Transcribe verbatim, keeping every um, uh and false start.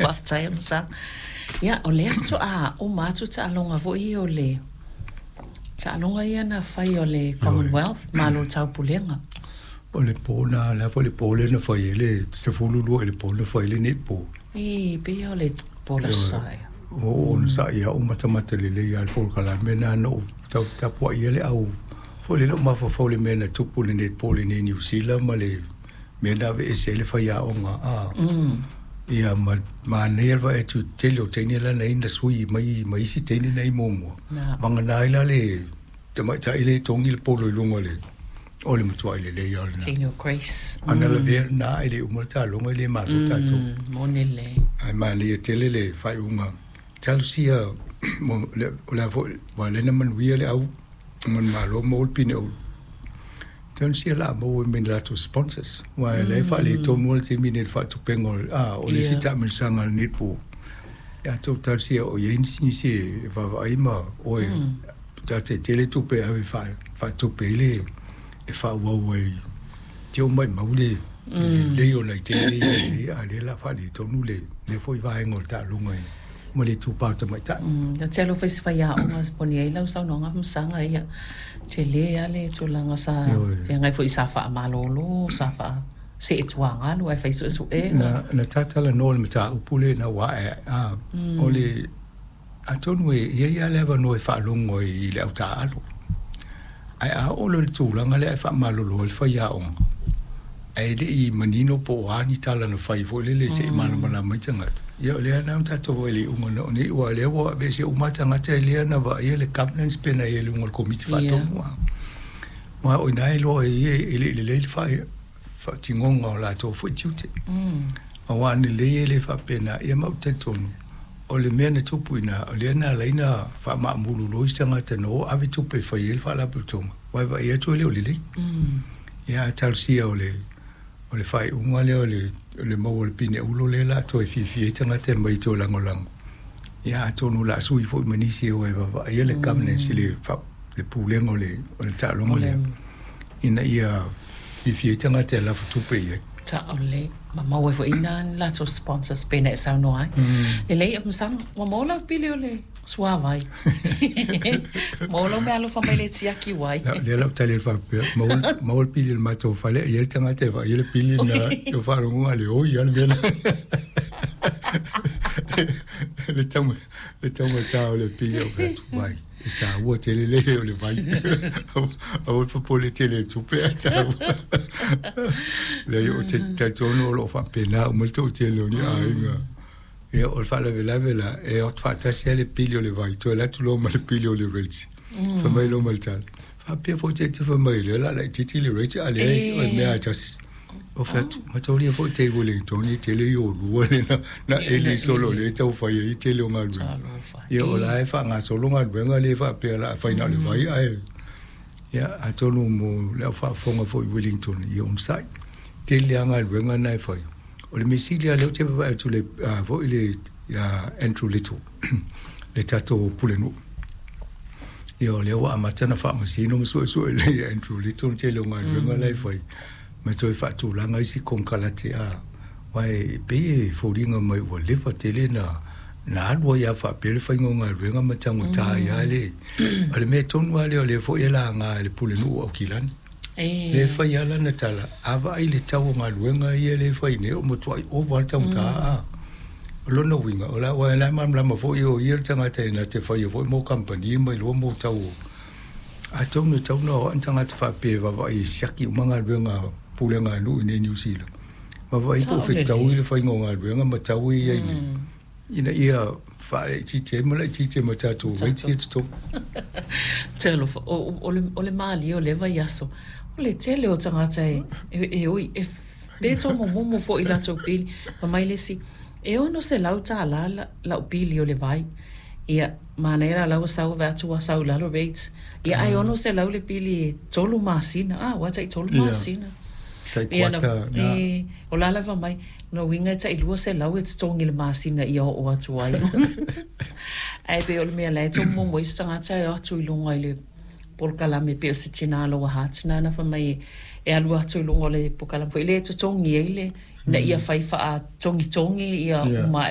Faafetai Masaga. Ia, o lea faatoa uma atu taaloga foi o le taaloga ia na fai o le Commonwealth, Malo o le Taupulega. O le po na le a foi le po lea na fai ai le sefulu lua i le po na fai ai le netball. Ī, pei o le po le aso Sa ea. O onosai ia uma matamata lelei lava le polokalame lena na ou tau tapuai ai le au foi lele ou mafaufau i le mea na tupu i le netball i inei i Niu Sila ma le mea na aveese ai le faiaoga a ia ma manaia le vaai atu i le tele o teine la na i ai na sui mai ma isi teine na i ai muamua vagana ai la le tamaitai lea e togi le polo i luga o le o le matuai lelei lava o lena. Teine o Grace. Ana lavea lena ae le uma le taaloga e le malo tatou. Moni le. Ae manaia tele le faaiuga. Talosia o le a foi aua o lea na manuia le au manumalo maua le pine ulu. Talosia o le a maua mai i ni latou sponsors aua o la e faaletonu lava le taimi lenei i le faatupega o le isi taamilosaga a le netball. Ia outou talosia o i ai nisi e vaavaai ma o e ta te tele tupe e ave faatupe ai le e faaauau ai te o maumau le lelei o nai teine ia i nei a o lea o le a faaletonu lea foi vaega o le taaloga ma le itupa o tamaitai. Ou te alofa i se faiaoga e moni ai lau saunoaga Masaga ia, tele lava le tulaga sa feagai foi sa faamalolo, sa faa seetuagalu ae fai suesuega. Na na talatalanoa i le mataupu lea ina ua ae a o le atonu e i ai lava le avanoa e faalogo ai i le au taaalo. Ae a oo loa i le tulaga lea ae faamalolo ai le faiaoga, ae le i manino po o a ni tala na fai foi lele se i malamalama ai tagata, ia o lea na tatou vaai i le iuga na oo nei, aua o lea ua aveese uma lava tagata lea na vaaia le governance pe na i ai i luga o le Komiti Faatonu. Aua o i ina e iloa ai e le i lelei le faatinoga o latou foi tiute. Aua a lelei e le faapena, ia ma ou te talitonu, o le mea na tupu i ina, o lea na ala ai ona faamaamulu loa isi tagata na o ave tupe e fai ai le faalapotopotoga, aua e vaai atu e le o lelei. Ia ae talosia o le o le faaiuga lea o le o le maua o le pine ulo lea o le a toe fiafia ai tagata e aumai e toe lagolago. Ia atonu o le a sui foi ma nisi e o e vaavaaia le governance i le le pulega o le o le taaloga lea ina ia fiafia ai tagata e lafo tupe i ai. Sao lelei, ma maua ai foi i ina ni latou sponsors pei ona e saunoa ai. Lelei ia Masaga, ua maua lau pili o le suavai. Maua lau meaalofa mai le tiaki wai. Lea la ou tali atu faapea, maua maua le pili o le matou fale, e i ai le tagata e vaaia le pili lena i faalogo a le oi lava le mea lena. Le le taugata o le pili o fai atu, vai, e taua tele le o le vai. Aua le popole tele i tupe ae taua. Leai, ou te talitonu o lo o faapena uma le toatele o ni aiga. Ia, o le faalavelave la, e o atu faatasi lava le pili o le vai, toe alu atu loa ma le pili o le rates. Fai mai loa ma le tala, faapea foi te te fai mai lea o le a laitiiti le rate, a leai o le mea lava e tasi. O fai atu, mataulia foi te i Wellington e tele i o lua le na, na eli solo le tau fai ai tele o galuega. Ia o la e faagasolo galuega le faapea o le a fai na o le vai ae ia atonu mo le au faafofoga foi i Wellington ia onosai. Tele lava galuega na e fai. O le mea sili lava lea ou te vaavaai atu le foi le ia Andrew Little le tatou pulenuu. Ia o lea ua amata ona faamasino ma suesue lelei e Andrew Little le tele o galuega la e fai ma toe faatulaga isi konekarate a aua e pei e foliga mai ua leva tele na na alu ai lava faapea le faiga o galuega ma taugata ai lava le o le mea tonu lava lea o lea foi e laga e le pulenuu o Aukilani. Lea e fai lava lana tala, a vaai i le tau o galuega ia lea e fai nei, o matuai ova lava le taugata a. O lona uiga, o la aua o la e malamalama foi o ia le tagata e na te faia foi mo kamupani ma iloa mo tau o atonu e tatau ona o a'e ni tagata faapea e vaavaai e siaki uma galuega a pulega a nuu i inei i Niu Sila, vaavaai po o fetaui le faiga o galuega ma tau e i ai nei ina ia faalaitiiti ai ma laitiiti ai ma tatou rates ia i totonu. Talofa, o, o, le, o le malie o lea vaiaso, o le tele o tagata e, e, e oi, e pe tomomomo foi i latou pili. Fai mai le isi, e ono selau tālā la, lau pili o le vai. Ia, manaia la la ua sau vaai atu ua sau i lalo rates. Ia, ae ono selau le pili e tolu masina. Ah, ua tai tolu masina. Tai Ia, na, kuata na. E, o la lava mai, lona uiga e tai lua selau e totogi i le masina ia oo atu ai. Ae pei o le mea la e tomomomo ai se tagata e o atu i luga i le polokalame pei o se tina aloha tina na fai mai e alu atu i luga o le polokalame foi lea e totogi ai le ina ia fai faatogitogi ia Ia. uma